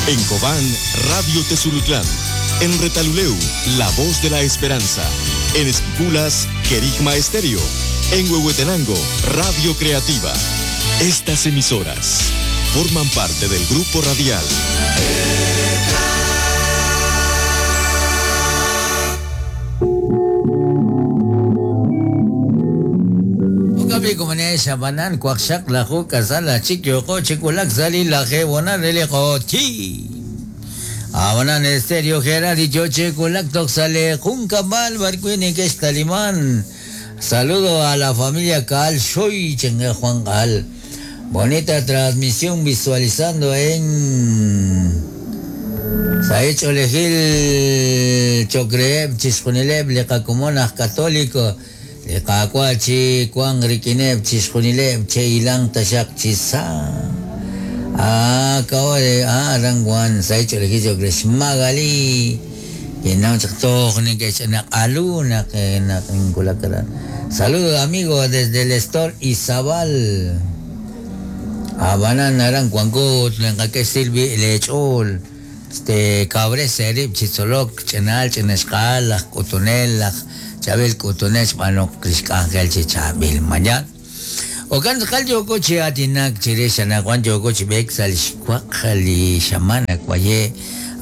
En Cobán, Radio Tezulutlán. En Retaluleu, La Voz de la Esperanza. En Esquipulas, Querigma Estéreo. En Huehuetenango, Radio Creativa. Estas emisoras forman parte del grupo radial. Xabanan waqxaq laju k'asal achik yooqo chi wulak sa' li lajeeb' re li q'oqyi. Abanan Estéreo Gerard yo chi wulak toj sa' li junkab'al b'arwi' neke'xtaliman. Saludo a la familia Kaal Xoy Chengue Juan Kaal. Bonita transmisión visualizando en Saich Olejil Chocreeb Chixjunileb li qakomon aj Católico li Qaawa' chi wanq rik'ineb chixjunileb che'ilanq taxaq chi sa'. Ah, kawale, ah, aran wan Saich Olejil Chocre Magali. Kinnaw chaq toj neke'xnaq'alu naq naq inwulak aran. Saludos amigos desde el store Izabal. Abanan aran wanko ut naqak'e xsilbi leech'ool. Este kawres eerib' chi tzolok ch'inaal ch'inaxq'aal laj k'utunel laj chaab'il k'utunel xb'aanok li xk'anjel chi chaab'il mañana. Okan tz'aqal yooko chi aatinak chirix anaqwan yooko chi b'eek sa' li xwaq li xamaan waye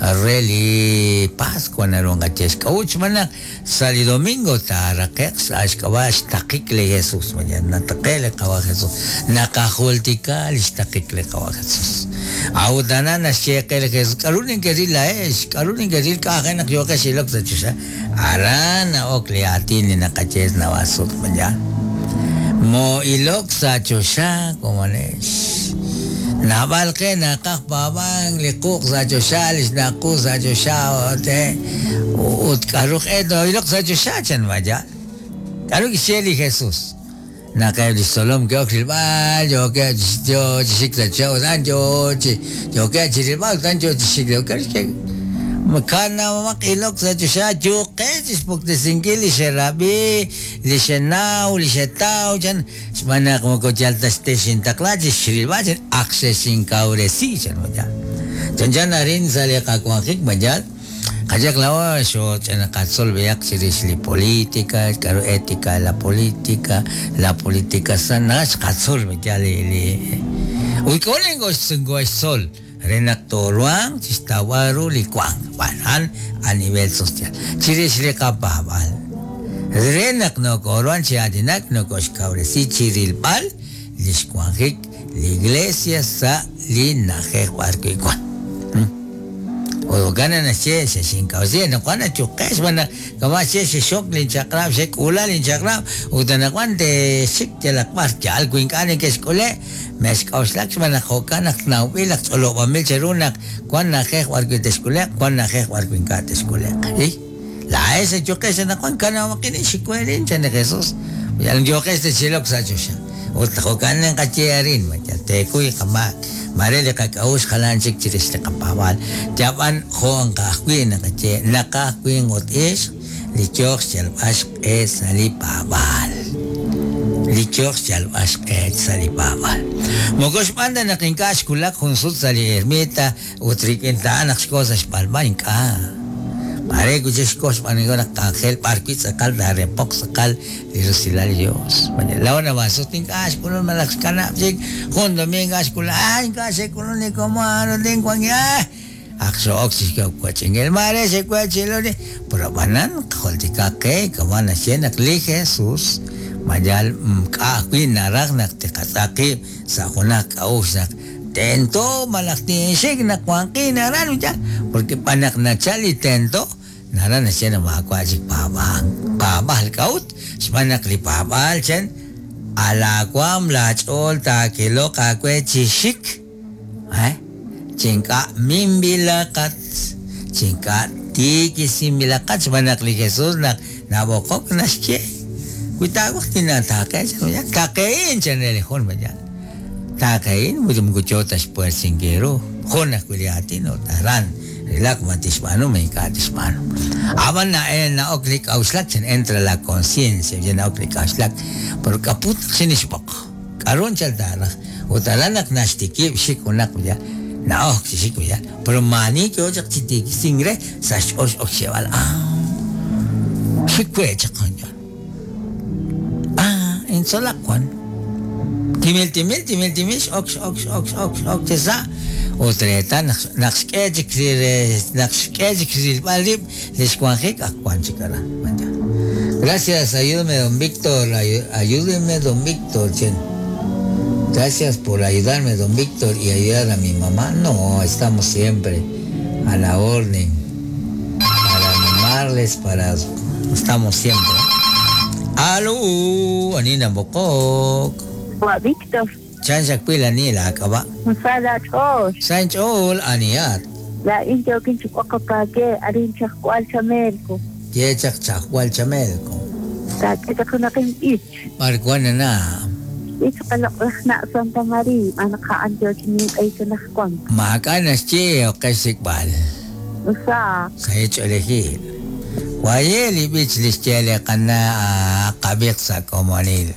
re li Pascua naru nqaye xk'a'ut xb'aan naq sa' li domingo taaraqe'q sa' xk'ab'a' xtaqik li Jesús mañana nataqe' li Qawa' Jesús naqajultika li xtaqik li Qawa' Jesús. A'ut aran naxye qe li Jesús k'a'ru nekeril laa'ex k'a'ru nekeril k'a'aj naq yooqex ilok sa' choxa aran na'ok li aatin li naqaye naab'al sut mañana. Mo ilok sa' choxa komonex. Naab'al qe naqaj paab'ank li quq' sa' choxa li xnaq' qu sa' choxa ut ut k'a'ru q'e ilok sa' choxa chan vaya. K'a'ru kixye li Jesús. Naq eb' li xtzolom ke'ok rilb'al yookeb' yo chi xik sa' choxa ut a'an yo chi yookeb' chi rilb'al ut a'an yo chi xik k'a'ru xye kanab'amaq ilok sa' choxa yuqex chi xpuktesinkil li xerab'i li xenaw li xetaw chan xb'aan naq moko yal ta texintaqla chi xrilb'al chan ak xexinkawresi chan vaya. Chanchan arin sa' li qawanjik vaya. Qayaq laa'o xooch'inaqatzol b'ihaq chirix li política, k'a'ru ética la política, la política sana xqatzol vaya li li ut k'o xtzol re naq tooruhanq chi xtawb'al ru li wank b'an a nivel social chirix li qapaab'al re naq nokooruhan chi aatinak nokoxkawresi chi rilb'al li xwanjik li iglesia sa' li na'ajej b'arwi' wan. Jo'kan naxye xexinkawresi anaqwan achuqex xb'aan naq kama' xye xexok linchaq'rab' xek'uula linchaq'rab' ut anaqwan te'xik yalaq b'ar yaal wi ink'a' neke'xk'ule' mexk'a'uxlak xb'aan naq jo'kan naq nawb'il naq ch'olob'anb'il cheru naq wan na'ajej b'arwi' te'xk'ule'q wan na'ajej b'arwi' ink'a' te'xk'ule'q. Laa'ex achuqex anaqwan kanab'aqin xikweerin chan li Jesús. Yal yooqex techilok sa' choxa. Ut jo'kan naqaye arin ma yal teekuy qamaak mare li qak'a'uxl jalan chik chirix li qapaab'aal. Yab'an jo' nqajwi' naqaye naqaj winq ut ixq li yooq xyalb'al xq'e sa' li paab'aal. Li yooq xyalb'al xq'e sa' li paab'aal. Moko xb'aan ta naq ink'a' xwulak jun sut sa' li ermita ut rik'in ta a'an naq xko sa' xb'alb'a ink'a'. Mare wi' chik xko xb'aan naq k'anjel b'arwi' tz'aqal taarepoq tz'aqal li rusilal li Dios. Laa'o naab'al sut ink'a' xk'ulun malaj xkanab' chik jun domingo ink'a' xk'ulun ah ink'a' xe'k'ulun li komon ut inwank ah ak xo'ok chi xwach'inkil mare xe'wach'iloni pero ab'anan qajultikaq qe kama' naxye naq li Jesús mayal k'a' ajwi' naraj naq tiqatz'aq qib' sa' junaq k'a'uxl naq tento malaj tinxik naq wanqin aran ya porque b'an naq nachal li tento naran naxye naq maawa' chik paab'aal paab'aal k'a'ut xb'aan naq li paab'aal chan alaawaam laach'ool taakiloq aawe chi xik chi ink'a' minb'ilaqat chi ink'a' tiikisinb'ilaqat xb'aan naq li Jesús naq nab'oqok naxye wi taawaj tinataaqe chan ya taqe'in chan re li jun ya taqe'in ut moko yo ta xpuersinkil ru jun ajwi' li aatin ut aran rilaq ma tixb'aanu ma ink'a' tixb'aanu. Ab'an na'ok li k'a'uxlak chan entra la conciencia ya na'ok li k'a'uxlak pero k'aput naq xinixb'oq k'a'ru anchal taaraj ut aran naq naxtikib' xik junaq ya. Na'ok chi xik ya. Pero maani yo chaq chi tiikisink re sa' xch'ool x'ok xyeeb'al ah xik we chaq coño. Ah, intzolaq wan. Timil timil timil timil x'ok x'ok x'ok x'ok x'ok chi sa' ut reetal naq naq xk'e chik naq xk'e chik rilb'al rib' li xwanjik ak wan chik aran. Gracias, ayúdeme don Víctor, ayúdeme don Víctor, chen. Gracias por ayudarme, don Víctor, y ayudar a mi mamá. No, estamos siempre a la orden para animarles, para... Estamos siempre. Aló, Anina Bokok. Wa Víctor. Chan Shakwila ni la akaba. Musala ch'ox. San ch'ol aniat. La injo kinchi kwakapake arin chajkwal chamelko. Ye chak chajwal chamelko. Ta k'itaqunaqin ich. Markuana na. Ich qalaqlajna Santa María anqa anjo chinin k'aykunajkuan. Makanas chi o qesikbal. Usa. Sa ch'olejil. Wayeli bich lixchele qana qabiq sa komonil.